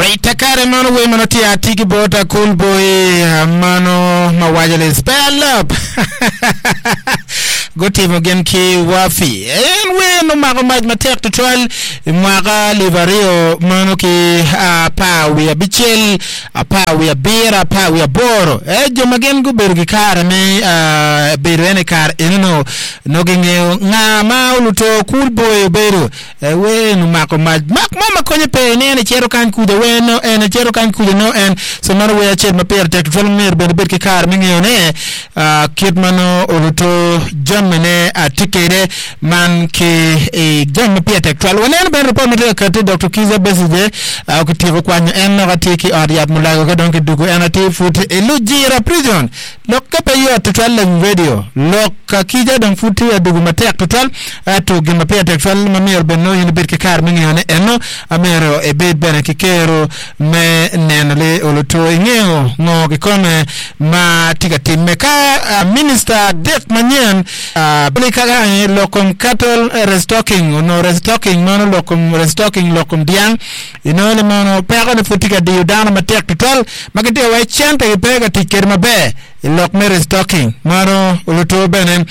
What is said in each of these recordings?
Alright, kare mano wer mano tye atye ki bot Cool Boy mano ma waco ni spell up gutimo gin ki Wafi. En wer nomako mac matek tutwal i mwaka alip aryo mano ki apar wiye abicel, apar wiye abiro, apar wiye aboro. Eh, jo ma gin gubedo ki kare me bedo en i kare eno-nu nongo gingeyo nga ma oluto Cool Boy obedo. Wer en omako mac mak mo ma konye pe ni en ecito kany kuca wer no en ecito kany kuca no en so mano wer acel ma pire tek tutwal ma myero bene ibed ki kare me ngeyo ne kit ma nongo oluto jami ne atye kede man ki i jami ma pire tek tutwal. Waneno bene ripot ma tye ka kati Doktor Kizza Besigye kityeko kwanyo en lok atir ki ot yat mulago ka dong kidugo en atir pud i Lujira prison. Lokke pe yot tutwal lawiny radio. Lok ka kica dong pud tye adugu matek tutwal. Ento gin ma pire tek tutwal ma myero bene nongo in ibed ki kare me ngeyone eno, myero ibed bene ki kero me neno li oluto ingeyo ngo kikome ma tye ka timme. Ka minista adek manyen ka lok kom cattle restocking onongo restocking meno lok kom restocking lok kom dyang inongo ni mono peko ni pud tye ka diyo dano matek tutwal ma gitye ka wai cente gipe ka tic kwede maber i lok me restocking. Mano oluto bene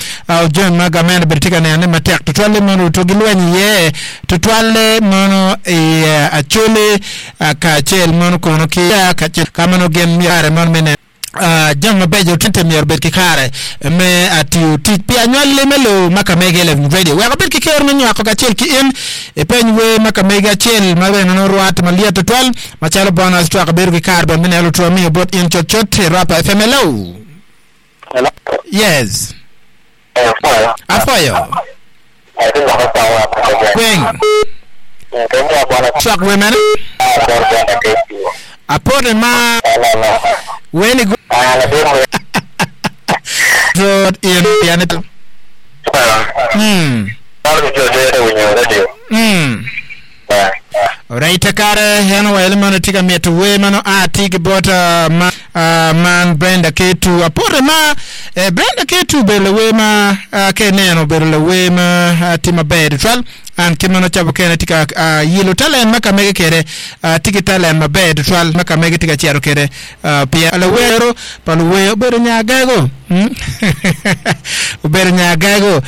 jami ma gamente bene tye ka neno ni matek tutwalle mono oluto gilweny iye tutwalle mono i Acholi kacel mono kono ki kacel ka mono gin myero mono me neno Jami mabeco tye myero obed ki kare me tiyo tic pi anywalli me lobo ma ka mege Lewin Radio wek obed ki kero me nywako kacel ki in ipeny wer ma ka mege acel ma bene nongo rwate malyet tutwal macalo bonus track bedo ki kare bene me neno lutwo miyo bot in cutcut i Rapa FM Hello Hello. Yes Apwoyo. Gweng. Cwak wer mene? Apote ma weni gu. Rwot in pien ni. Mm. Mm. Alright, kare en owaco ni mano tye ka mito wer ma nongo a tye ki bot ma man Brenda Ketu. Apote ma eh, Brenda Ketu obedo lawer ma ka ineno obedo lawer ma tye maber tutwal. An kit ma nongo cawa mukene tye ka yilo talent ma ka mege kwede, tye ki talent maber tutwal ma ka mege tye ka cito kwede pien lawer pa luwer obedo nya gago. Obedo nya gago,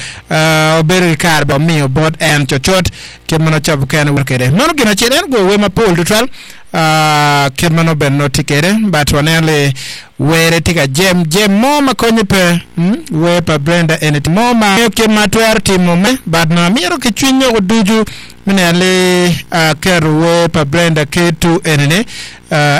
obedo ki kare ba omiyo bot en cutcut. Kit ma nongo cawa mukene wero kwede. Meno gin acel, en ogoyo wer mapol tutwal kit ma nongo bene nongo tye kwede but waneno ni were tye ka jem jem mo ma konye pe wer pa Brenda eni mo ma ngeyo kit ma atwero timo me but nongo amito ki cwiny nyoko ducu me neno ni aketo wer pa Brenda K2 eni ni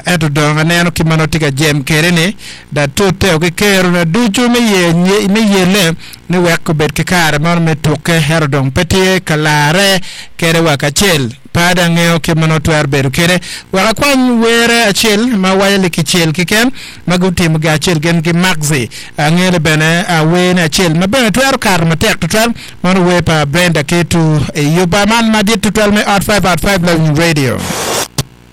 ento dong aneno kit ma nongo tye ka jem kwede ni datute ki kerona ducu me yelle ni wek obed ki kare mono me tukke, ento dong pe tye ka larre kede wa kacel. Pe ada angeyo kit ma nongo twero bedo kede. Wek akwany were acel ma waco ni kicel keken ma gutimo gi acel gin ki Maxi. Angeyo ni bene wer ne acel ma bene twero kato matek tutwal mano wer pa Brenda Ketu i yuba man madit tutwal me Ot 5 Out 5 Lawiny Radio.